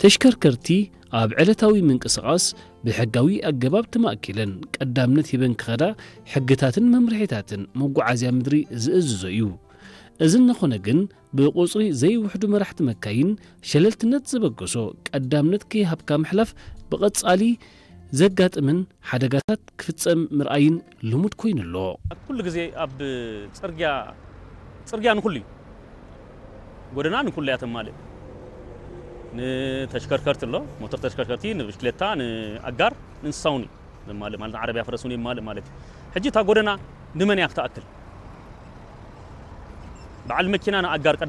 ተሽከርከርቲ ኣብ ዕለታዊ ምንቅስቓስ ብሕጋዊ ኣገባብ ተማእኪለን ቀዳምነት ሂበን ክኸዳ ሕግታትን መምርሒታትን መጓዓዝያ ምድሪ ዝእዝዞ እዩ። እዚ እንኾነ ግን ብቁጽሪ ዘይውሕዱ መራሕቲ መካይን ሸለልትነት ዝበገሶ ቀዳምነት ከይሃብካ ምሕላፍ ብቐጻሊ ዘጋጥምን ሓደጋታት ክፍጸም ምርኣይን ልሙድ ኮይኑ ኣሎ። ኩሉ ግዜ ኣብ ጽርግያ ጽርግያ ንኩሉ እዩ። ጎደና ንኩሉ እያ ተማልእ። ንተሽከርከርቲ ኣሎ፣ ሞተር ተሽከርከርቲ፣ ንብሽክሌታ፣ ንኣጋር፣ ንእንስሳ እውን እዩ ዘማልእ ማለት ንዓረብያ ፈረስ እውን የማልእ ማለት እዩ። ሕጂ እታ ጎደና ንመን እያ ክትኣክል? በዓል መኪና ንኣጋር ቀዳም